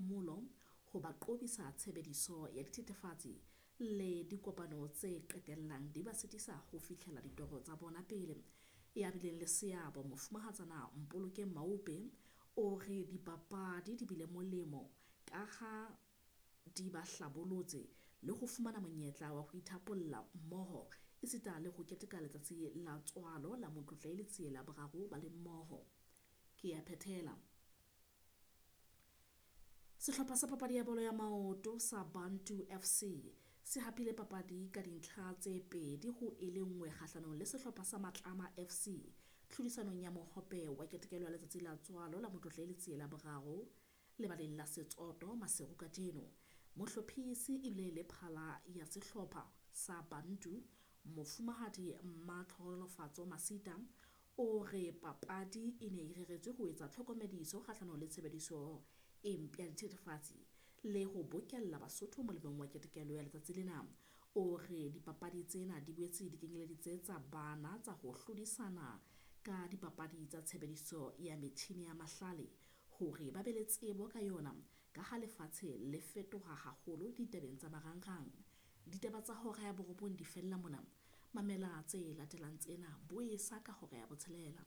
phomolo, ho ba qobisa tshebediso ya dithethefatsi le dikopano tse qetellang di ba sitisa ho fihlela ditoro tsa bona pele. Ya bileng le seabo Mofumahatsana Mpolokeng Maupe o re dipapadi di bile molemo ka ha di ba hlabolotse le ho fumana monyetla wa ho ithapolla mmoho esita le ho keteka letsatsi la tswalo la Motlotlehi Letsie la boraro ba le mmoho. Ke ya phethela. Sehlopha sa papadi ya bolo ya maoto sa Bantu FC se hapile papadi ka dintlha tse 2-1 kgahlanong le sehlopha sa Matlama FC tlhodisanong ya mohope wa ketekelo ya letsatsi la tswalo la Motlotlehi Letsie la boraro lebaleng la Setsoto Maseru kajeno. Mohlophisi ebile le phala ya sehlopha sa Bantu Mofumahadi Mmatlhonolofatso Masita o re papadi e ne e reretswe ho etsa tlhokomediso kgahlanong le tshebediso e mpe ya dithethefatsi le ho bokella Basotho molemong wa ketekelo ya letsatsi lena. O re dipapadi tsena di boetse di kenyeleditse tsa bana tsa ho hlodisana ka dipapadi tsa tshebediso ya metjhini ya mahlale hore ba be le tsebo ka yona ka ha lefatshe le fetoha haholo ditabeng tsa marangrang. Ditaba tsa hora ya borobong di fella mona. Mamela tse latelang tsena bo esa ka hora ya botshelela.